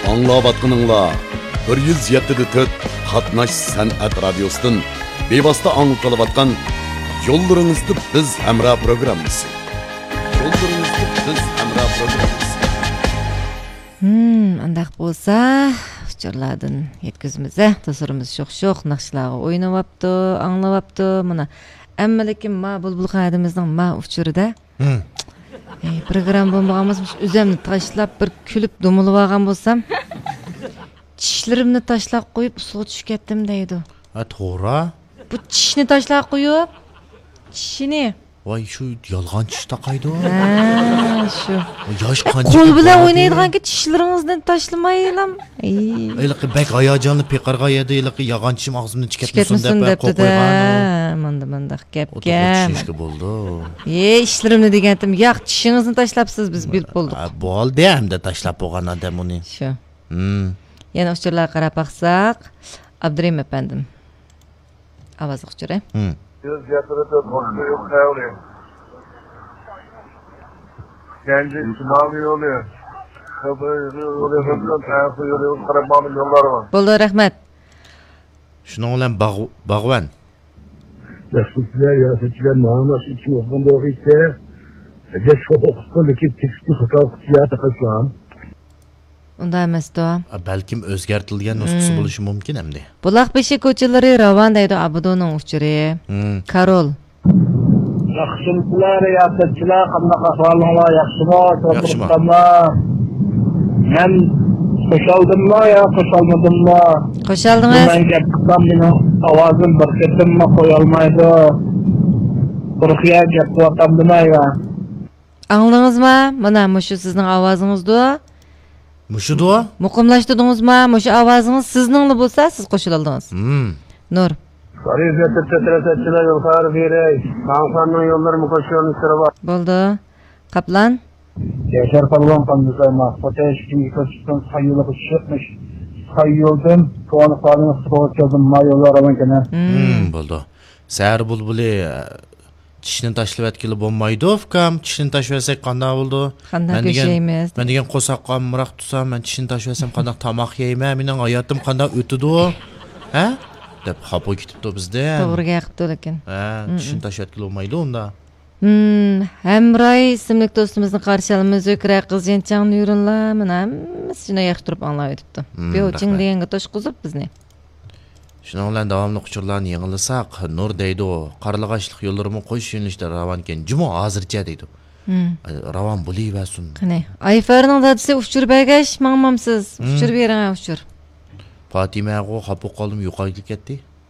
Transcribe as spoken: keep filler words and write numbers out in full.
ئاڭلاۋاتقىنىڭلار بىر يۈز يەتتە دە تۆت قاتناش سەنئەت رادىيوسىدىن بىۋاسىتە ئاڭلىتىلىۋاتقان يوللىرىڭىزدا بىز ھەمراھ پروگراممىسى. يوللىرىڭىزدا بىز ھەمراھ پروگراممىسى. ھىم، ئانداق بولسا، ئۇچۇرلاردىن يەتكۈزىمىز، ھە؟ دوستلىرىمىز شوخ-شوخ ناخشىلارغا ئوينىۋاپتۇ، ئاڭلىۋاپتۇ. مانا، ئەمما لېكىن ما بۇلبۇل خادىمىمىزنىڭ ما ئۇچۇرىدا ھىم. ئەي، پروگرامما بولمىغان بولسا، مۇشۇ ئۆزۈمنى تاشلاپ، بىر كۈلۈپ دومىلىۋالغان بولسام، چىشلىرىمنى تاشلاپ قويۇپ، ئۇسسۇلغا چۈشۈپ كەتتىم دەيدۇ. ھە، توغرا. بۇ چىشنى تاشلاپ قويۇپ، چىشىنى. ۋاي، شۇ يالغان چىش تاقايدۇ. ھە، شۇ. ياش قانچە قول بىلەن ئوينايدىغانكى، چىشلىرىڭىزنى تاشلىمايلا. ئەي. ھېلىقى بەك ھاياجانلىنىپ پىقىرغان يەردە ھېلىقى يالغان چىشىم ئاغزىمدىن چىقىپ كەتمىسۇن دەپ قويۇپ قويغان. مانداق مانداق گەپ گەپ. چۈشۈشكە بولىدۇ. ئى، ئىشلىرىمنى دېگەنتىم. ياق، چىشىڭىزنى تاشلاپسىز، بىز بىلىپ بولدۇق. ھە، بولدى ئەمدى تاشلاپ بولغان ئادەم ئۇنى. شۇ. ھىم. يەنە ئۇچۇرلارغا قاراپ باقساق، ئابدۇرېھىم ئەپەندىم. ئاۋازلىق ئۇچۇرى. ھىم. يۈز يەتتە تۆت قوشۇن يوق خەۋلى. كەنجى شىمالىي يولى. خىبىر يولى، خىبىر يولى، تەنسى يولى، قاراپ ماڭغان يوللار بار. بولدى، رەھمەت. شۇنىڭ بىلەن باغ-، باغۋەن. ياخشى سىلەر، ياخشى سىلەر، مانا شۇ ئىككى ئوقۇغان بولغىچە، جەش ئوقۇپتۇ، لېكىن تېكىستنى خاتا ئوقۇپتۇ، يا تاقاشلام. ئۇنداق ئەمەستۇ. ئا، بەلكىم ئۆزگەرتىلگەن نۇسخىسى مم. بولۇشى مۇمكىن ئەمدى. بۇلاق بېشى كوچىلىرى راۋان دەيدۇ ئابىدۇنىڭ ئۇچۇرى. مم. كارول. ياخشىمۇسىلەر، رىياسەتچىلەر، قانداق ئەھۋالىڭلار، ياخشىمۇ؟ ياخشىمۇ. مەن خۇشالدىممۇ يا خۇشالمىدىممۇ؟ خۇشالدىڭىز. مەن گەپ قىلسام، مېنىڭ ئاۋازىم بىر قېتىممۇ قويالمايدۇ. قۇرۇق يا گەپ قىلىۋاتامدىمەن يا؟ ئاڭلىدىڭىزما؟ مانا مۇشۇ سىزنىڭ ئاۋازىڭىزدۇ. مۇشۇدۇ؟ مۇقىملاشتۇردىڭىزما؟ مۇشۇ ئاۋازىڭىز سىزنىڭلا بولسا، سىز قوشۇلالدىڭىز. مم. نۇر. رىياسەتچىلەر يول خەۋىرى بېرەي. ماڭساننىڭ يوللىرىمۇ قوشۇلۇش سىرى بار. بولدى. قاپلان. ياشار پالۋان قاندىسايما. خوتەن ئىككىنچى كوچىسىدىن ساي يولىغا چۈشۈپ، ساي يولدىن كونا قالىنىڭ سۇغا كەلدىم. ما يوللار راۋان ئىكەن. مم. مم، بولدى. سەھەر بۇلبۇلى، چىشنى تاشلىۋەتكىلى بولمايدۇ، ئۇكام. چىشنى تاشلىۋەتسەك قانداق بولىدۇ؟ قانداق مەن دېگەن، كۆشەيمىز؟ مەن دېگەن قورساققا ئامراق تۇرسام، مەن چىشنى تاشلىۋەتسەم قانداق تاماق يەيمەن؟ مېنىڭ ھاياتىم قانداق ئۆتىدۇ؟ ھە؟ دەپ خاپا كېتىپتۇ بىزدىن. توغرا گەپ قىپتۇ لېكىن. ھە، مم، چىشنى مم. تاشلىۋەتكىلى بولمايدۇ ئۇندا. مم، ھەمراھ ئىسىملىك دوستىمىزنى قارشى ئالىمىز. زۆھرە قىزجىنچاڭ نۇرۇنلا، مانا ھەممىسى شۇنداق ياخشى تۇرۇپ ئاڭلاۋېتىپتۇ. مم، بېۋچىڭ رەھمەت. دېگەنگە توشقۇزۇپ بىزنى. شۇنىڭ بىلەن داۋاملىق ئۇچۇرلارنى يېڭىلىساق، نۇر دەيدۇ، قارلىغاچلىق يوللىرىمۇ قوش يۆنىلىشتە راۋانكەن، جۇمۇ ھازىرچە دەيدۇ. مم. ئە، راۋان بولۇۋەرسۇن. قېنى، ئايفەرنىڭ دادىسى ئۇچۇر بەرگەچ ماڭمامسىز؟ مم. ئۇچۇر بېرىڭە، ئۇچۇر. پاتىمەغۇ خاپا بولۇپ قالدىم، يوقاپ كەتتى.